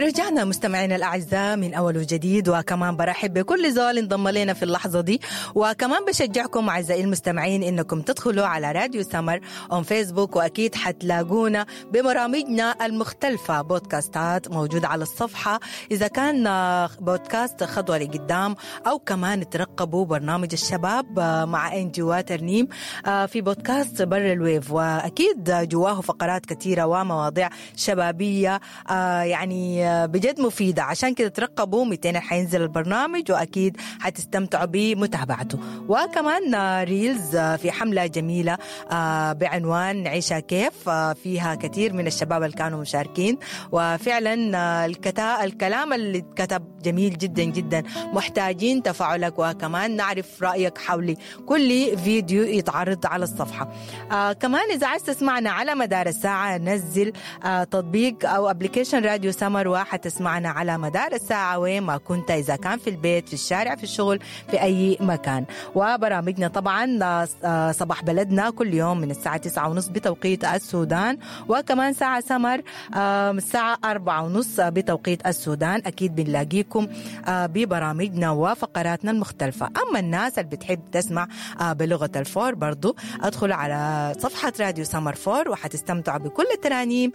رجعنا مستمعينا الأعزاء من أول وجديد، وكمان برحب بكل زول انضم لنا في اللحظة دي، وكمان بشجعكم أعزائي المستمعين إنكم تدخلوا على راديو سمر on Facebook، وأكيد حتلاقونا ببرامجنا المختلفة، بودكاستات موجودة على الصفحة، إذا كان بودكاست خطوة لقدام، أو كمان ترقبوا برنامج الشباب مع إنجي وترنيم في بودكاست بر ال wave، وأكيد جواه فقرات كثيرة ومواضيع شبابية يعني بجد مفيدة. عشان كده ترقبوا 200 حينزل البرنامج، وأكيد حتستمتعوا بمتابعته. وكمان reels في حملة جميلة بعنوان عيشة كيف، فيها كثير من الشباب اللي كانوا مشاركين، وفعلا الكلام اللي اتكتب جميل جدا جدا. محتاجين تفاعلك وكمان نعرف رأيك حول كل فيديو يتعرض على الصفحة. كمان إذا عايز تسمعنا على مدار الساعة، نزل تطبيق أو application راديو سمر، وحتسمعنا على مدار الساعة وين ما كنت، إذا كان في البيت، في الشارع، في الشغل، في أي مكان. وبرامجنا طبعا صباح بلدنا كل يوم من الساعة 9:30 بتوقيت السودان، وكمان ساعة سمر الساعة 4:30 بتوقيت السودان. أكيد بنلاقيكم ببرامجنا وفقراتنا المختلفة. أما الناس اللي بتحب تسمع بلغة الفور، برضو أدخل على صفحة راديو سمر فور، وحتستمتعوا بكل الترانيم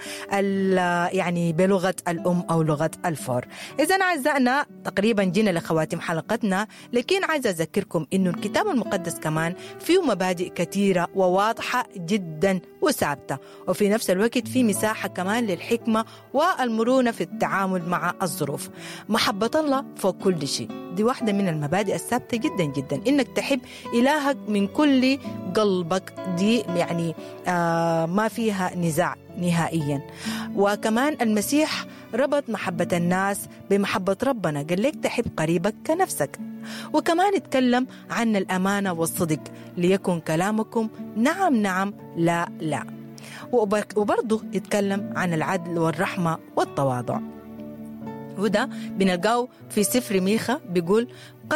يعني بلغة الأم أو لغة الفور. إذا أعزائنا تقريبا جينا لخواتيم حلقتنا، لكن عايزة أذكركم إنه الكتاب المقدس كمان فيه مبادئ كثيرة وواضحة جدا وثابتة، وفي نفس الوقت في مساحة كمان للحكمة والمرونة في التعامل مع الظروف. محبة الله فوق كل شيء، دي واحدة من المبادئ الثابتة جدا جدا، إنك تحب إلهك من كل قلبك، دي يعني ما فيها نزاع نهائيا. وكمان المسيح ربط محبة الناس بمحبة ربنا، قال لك تحب قريبك كنفسك. وكمان اتكلم عن الأمانة والصدق، ليكن كلامكم نعم نعم لا لا. وبرضه اتكلم عن العدل والرحمة والتواضع، وده بنلقاه في سفر ميخا، بيقول قد